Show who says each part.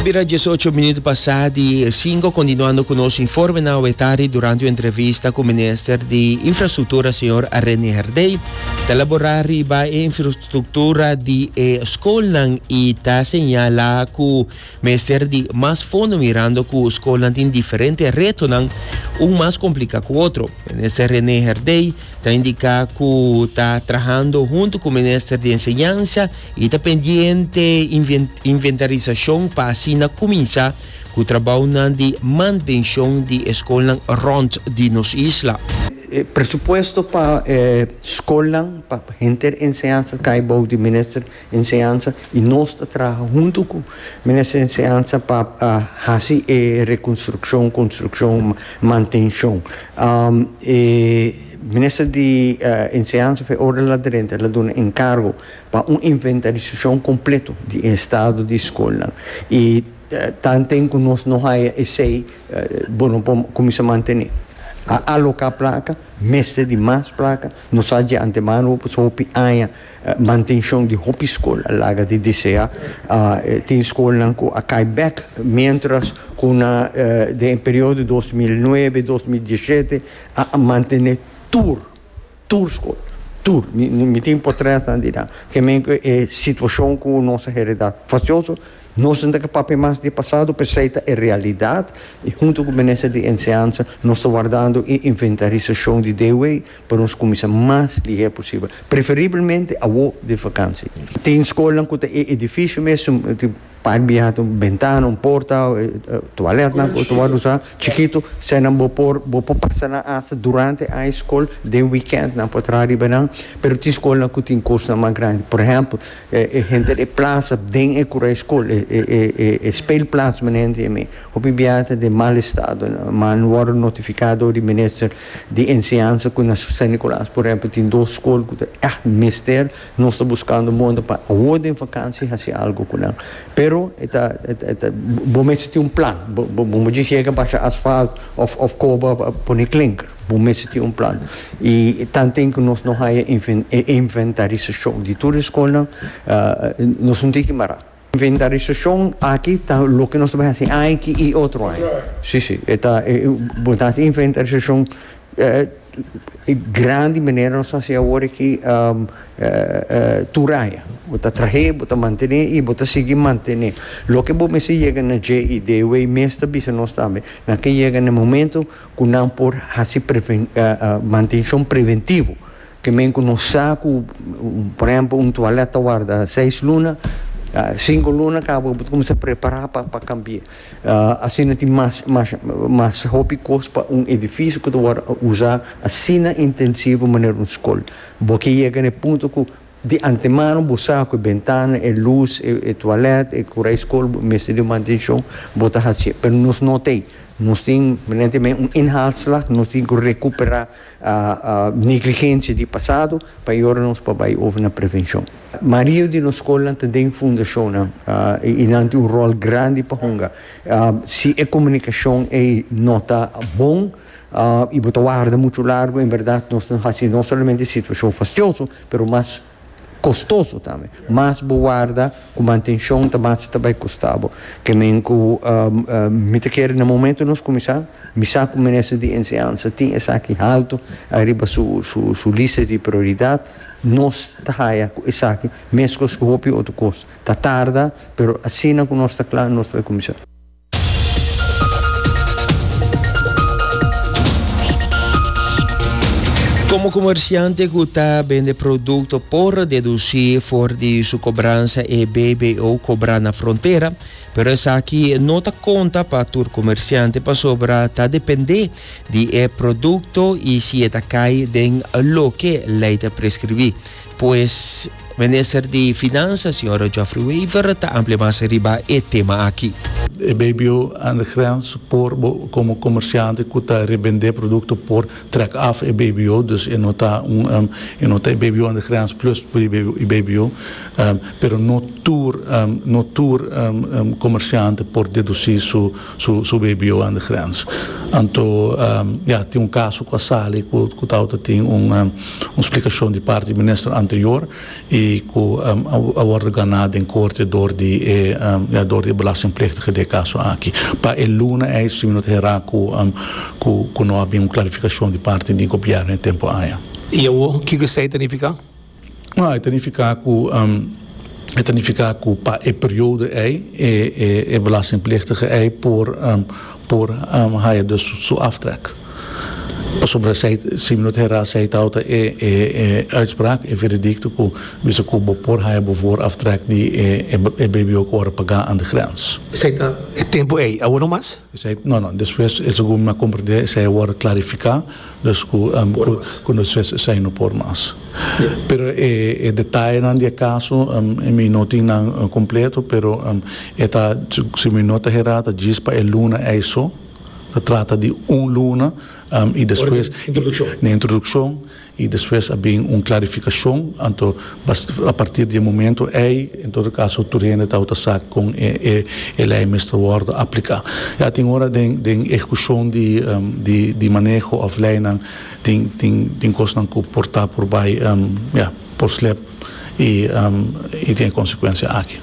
Speaker 1: bira 18 minuut pasá di 5 continuando cu nos informenan awe tardi durante un entrevista cu minister di Infrastructura señor Rene Herdey ta elabora riba e infrastructura di e scolnan y ta señala cu mester di mas fondo mirando cu scolnan tin diferente retonan un mas complica cu otro. Minister Rene Herdey ta indica cu ta trahando hunto cu minister di Enseñansa y ta pendiente inventarisacion pa asina cuminsa cu trabounan di mantencion di e scolnan rond di nos isla.
Speaker 2: E presupuesto pa e scolnan, pa henter enseñansa ta cay bou di Minister Enseñansa y nos ta traha hunto cu Minister Enseñansa pa haci e reconstruccion, construccion, mantencion. E Minister di Enseñansa fe ora el a drenta el a duna encargo pa un inventarisashon kompleto di e estado di skolnan. I tanten ku nos no haya esei, bo no por kuminsá mantené. A aloká plaka, mester di mas plaka. Nos sa dje antemano pasobra hopi aña mantenshon di hopi skol a laga di deseá. Tin skolnan ku a kai bèk miéntras ku na den e periodo 2009, 2017 a mantené tur. Tur skol. Tur. Mi, mi tin potretnan di nan. Ke men ku e situashon ku nos a heredá fasioso, nos no ta ke papia mas di e pasado, p'esei ta e realidat i huntu ku Minister di Enseñansa nos ta wardando e inventarisashon di DOE pa nos kuminsá mas lihé posibel, preferibelmente awo di vakansi. Tin skolnan ku ta e edifisio mes, tin. Par biaha ta un bentana, un porta, toiletnan ku ta wòrdu usá chikitu. Eseinan bo por bo por pasa nan asta durante aña skol, den wikènt nan por traha riba nan. Pero tin skolnan ku tin kosnan mas grandi. Por ehèmpel, e henter e plasa den e kura e skol, e e e speelplaats manera nan ta yam'é, hopi biaha ta den mal estado. Nan wòrdu notifiká dor di minister di enseñansa ku na San Nicolas por ehèmpel tin dos skol ku ta ègt mester. Nos ta buskando moda pa awor den vakansi hasi algo ku nan. Pero e ta, e ta, bo mester tin un plan. Bo, bo, bo no djis yega basha asfalt òf, òf koba pa pone klinker. Bo mester tin un plan. I tanten ku nos no haya e inventarisashon di tur e skolnan, nos no tin ki mará. Inventarisashon aki ta loke nos ta bai hasi aña aki i otro aña. Sí, sí, e ta, bo ta hasi inventarisashon grandi manera nos ta hasi awor aki tur aña. Bo ta trah'é, bo ta mantené i bo ta sigui mantené. Loke bo mester yega na dje i DOW mes ta bisa nos tambe, nan ke yega na e momento ku nan por hasi mantenshon preventivo. Ke men ku nos sa ku, por ehempel, un tualèt ta warda seis luna, sinku luna kaba bo ta kuminsá prepará pa pa kambi'é. Asina tin mas mas mas hopi kos pa un edifisio ku ta wòrdu usá asina intensivo manera un skol. Bo ke yega na e punto ku di antemano bo sa ku e bentana, e lus, e tualèt, e kura e skol mester di un mantenshon, bo ta hasié. Pero nos no t'ei. Nos tin, manera tin un inhaalslag, nos tin ku rekuperá Negligencia di pasado pa e ora nos por bai over na prevencion. Mario di nos scolnan ta den fundacionnan y nan tin un rol grandi pa hunga. Si e comunicacion ey no ta bon y bo ta warda mucho largo en berdad nos ta haci no solamente e situacion fastioso pero mas Kostoso tambe. Mas bo warda ku mantenshon ta mas ta bai kosta bo. Ke men ku mi ta kere na momento nos kuminsá, mi sa ku Minister di Enseñansa tin esaki haltu ariba su su lista di prioridat, nos ta haya ku esaki meskos ku hopi otro kos ta tarda, pero asina ku nos ta kla nos ta bai kuminsá.
Speaker 1: Komo komersiante ku ta bende produkto por dedusí for di su kobransa e BBO kobrá na frontera, pero esaki no ta konta pa tur komersiante pasobra ta dependé di e produkto i si e ta kai den loke lei ta preskribí. Pues, Minister di Finansa, señor Geoffrey Wever, ta amplia mas riba e tema aki.
Speaker 3: E BBO aan de grens por bo komo komersiante ku ta rebendé produkto por trèk af e BBO, dus e no ta un e no ta e BBO aan de grens plus e BBO, pero no tur no tur komersiante por dedusí su su su BBO aan de grens. Anto ya tin un kaso ku a sali ku ku tabata tin un un splikashon di parti di minister anterior. i ku a wòrdu ganá den korte dor di e ya dor di e belastingplichtige den e kaso aki. Pa e luna ei si mi no ta herá ku ku ku no a bin un klarifikashon di parti di gobièrnu e tempu aya.
Speaker 4: I awor kiko esei ta nifiká?
Speaker 3: No, e ta nifiká ku e ta nifiká ku pa e periodo ei e e e belastingplichtige ei por por haya dus su aftrek. Pasobra esei, si mi no ta herá, esei tabata e e uitspraak, e veredicto ku bisa ku bo por haña bo vooraftrek di e e BBO ku ora pagá aan de grens.
Speaker 4: Esei ta e tempu ei, awor no mas?
Speaker 3: Esei, no, no, despues, segun mi a komprendé, esei a wòrdu klarifiká, dus ku ku despues esei no por mas. Pero e e detayenan di e kaso mi no tin nan kompleto, pero e ta, si mi no ta herá, ta djis pa e luna ei so. Ta trata di un luna y despues na introduccion y despues a bin un clarificacion anto a partir di e momento ey en todo caso tur hende tabata sa con e ley mester wordo aplica. Ya tin ora den den ehecucion di di maneho of leynan tin tin tin cosnan cu por ta por bay ya por slip y y tin e consecuencia aki.